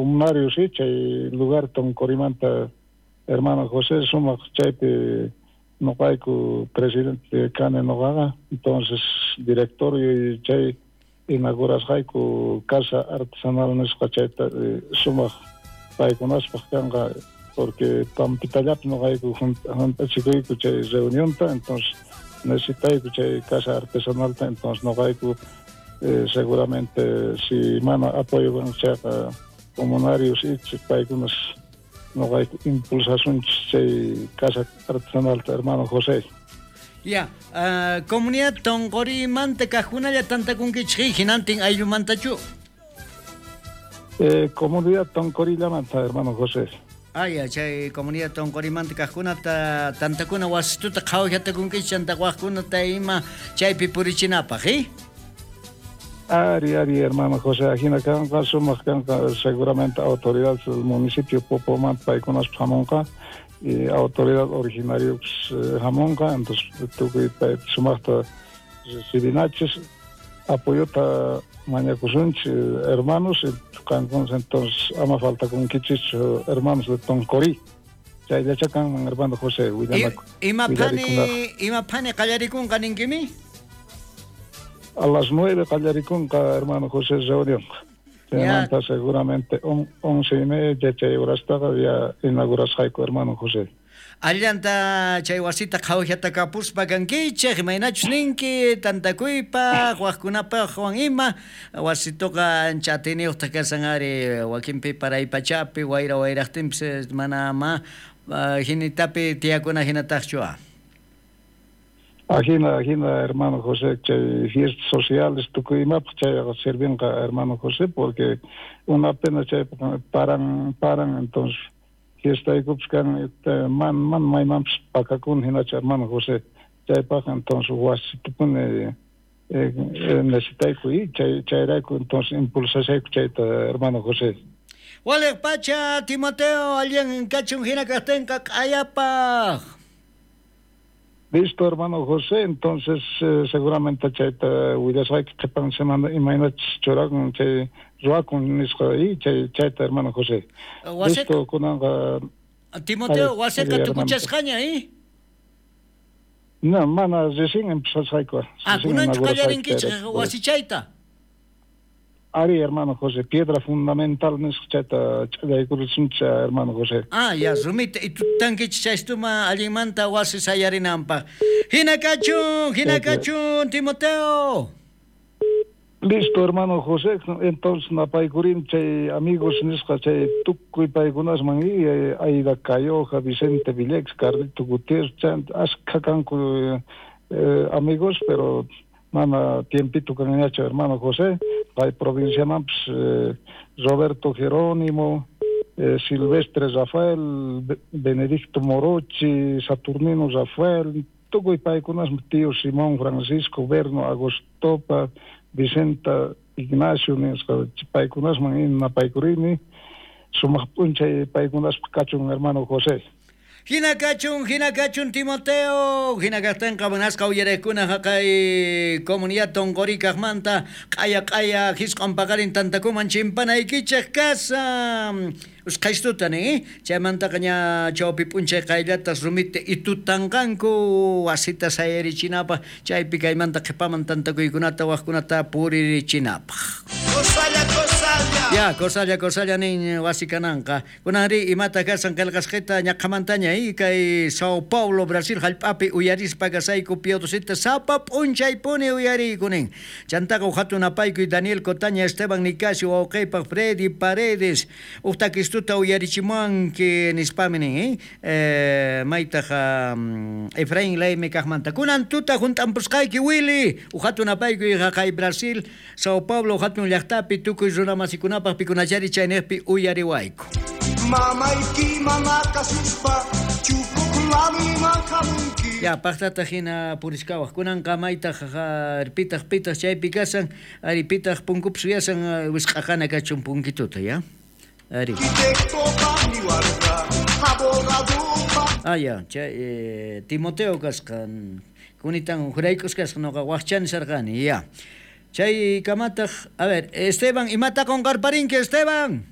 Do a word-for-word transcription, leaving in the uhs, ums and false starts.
comunarios y chay lugar Toncorimanta hermano José sumaq chaypi noqayku presidente kani noqaqa, entonces directorio y chay inaugurasqayku casa artesanal nisqa chayta sumaq paykunaspaq kanqa porque pampitallapi noqayku juntachikuyku chay reunionta, entonces necesitayku chay casa artesanalta, entonces noqayku eh, seguramente si mana apoyo kan chayqa comunarios y paykunas noqayku impulsasunchis chay casa artesanalta hermano José. Ya, uh, comunidad Toncorimanta kajkunalla tantakunkichik hinantin ayllumantachu? Eh, comunidad Toncorillamanta hermano José. Ah, ya, chay comunidad Toncorimanta kajkunata tantakuna wasituta qhawajatakunkichik chanta wajkunata ima chaypi purichinapaq, eh? Ari, ari, hermano José, ajina kanqa, sumaq kanqa, seguramente autoridad del municipio Popomanta paykunas hamunqa, y autoridad originario hamunqa, entonces tukuy pay sumaqta recibinachis, apoyota mañakusunchis hermanos, kankunas entonces ama falta kunkichis hermanos de Toncorí. Chayllacha kanman hermano José, willanaku. Ima phani, ima phani qallarikunqa ninkimi? A las nueve qallarikunqa hermano José reunión. Chaymanta seguramente on, once y media chay horastaqa ya inaugurasqayku hermano José. Allanta chay wasita qhawajata kapuspa kankichik, imaynachus ninki tantakuypaq wajkunapaq wan ima wasituqa ancha atiyniyuqtaq kasan ari wakinpi paraypachapi wayra wayraqtinpis mana ma hinitapi tiyakuna hinataqchu. Ajina, ajina, hermano José, chay fiestas sociales tukuy imapaq chayqa sirvinqa hermano José, porque una pena chay paran, paran, entonces fiestaykupis kan man, man maymanpis pakakun hinacha hermano José, chaypaq entonces wasitupuni eh, eh, necesitayku y chay, chayrayku entonces impulsashayku chayta hermano José. Waliq pacha, Timoteo, allin kachun hina kaqtinqa q'ayapaq. Listo, hermano José, entonces eh, seguramente chayta willasqayki qhipan semana imaynachus churakun chay ruwakun nisqa y chay chayta hermano José. Listo, kunanqa Timoteo, wasiqa tukuchasqaña, eh? No, mana recién empezasqayku. Ah, kunanchu qallarinkichik wasichayta? Ari, hermano José, piedra fundamental nisqa chayta ch'allaykurusunchik hermano José. Ah, ya, rumita itutankichik chaystuma allinmanta wasi sayarinanpaq. Hina kachun, hina kachun, Timoteo. Listo, hermano José, entonces napaykurin chay amigos nisqa chay tukuy paykunasman y Aida Cayoja, Vicente Villegas, Carlito Gutiérrez, askha kanku eh, amigos, pero mana tiempito kanñachu hermano José, hay provinciamanpis eh, Roberto Jerónimo, eh, Silvestre Rafael, Benedicto Morochi, Saturnino Rafael, tukuy paykunasman tío Simón Francisco, Berno Agostopa, Vicenta Ignacio nisqa paykunasman napaykurini, sumaq p'unchay paykunaspaq kachun hermano José. Hina kachun, hina kachun Timoteo, hina kaqtinqa munasqa uyariqkuna haqay comunidad Toncoricaqmanta q'aya q'aya hisq'un paqarin tantakuman chimpanaykichik kasan. Usqhaystuta nin, chaymantaqa ña chawpi p'unchay qayllatas rumita itutanqanku wasita sayarichinapaq chaypi kaymanta qhipaman tantakuykunata wajkunata puririchinapaq. Kosalla, kosalla. Ya, kosalla, kosalla nin wasi kananqa. Kunanri imata kasan qillqasqita ñaqhamantaña y kay Sao Paulo, Brasil hallp'api uyarispa kasayku piodosita sapa p'unchaypuni uyariyku nin. Chantaqa uqhatun apaykuy Daniel Cotaña, Esteban Nicasio, wawqiypaq Freddy Paredes, uq takistuta uyarichimuanki nispami nin, eh? Eh, maytaq um, Efraín Leime kaqmanta. Kunan tuta junt'ampusqayki Willy, uqhatun apaykuy haqay Brasil, Sao Paulo hatun llaqtapi tukuy runamasikunapaq pikunachari chayniqpi uyariwayku. Mamayki mana kasuspa chupuklamiman hamunki. Ya, paqtata hina puriskawaq. Kunanqa maytaq pitaq pitaq chaypi kasan, ari pitaq punkupis uyasan wisq'aqana kachun punkituta, ya. Ari. Ah, ya, chay eh, Timoteo kasqan kunitan juraykus kasqa noqa waqchani sarqani, ya. Chay kamataq, a ver, Esteban, imata qunqarparinki, Esteban?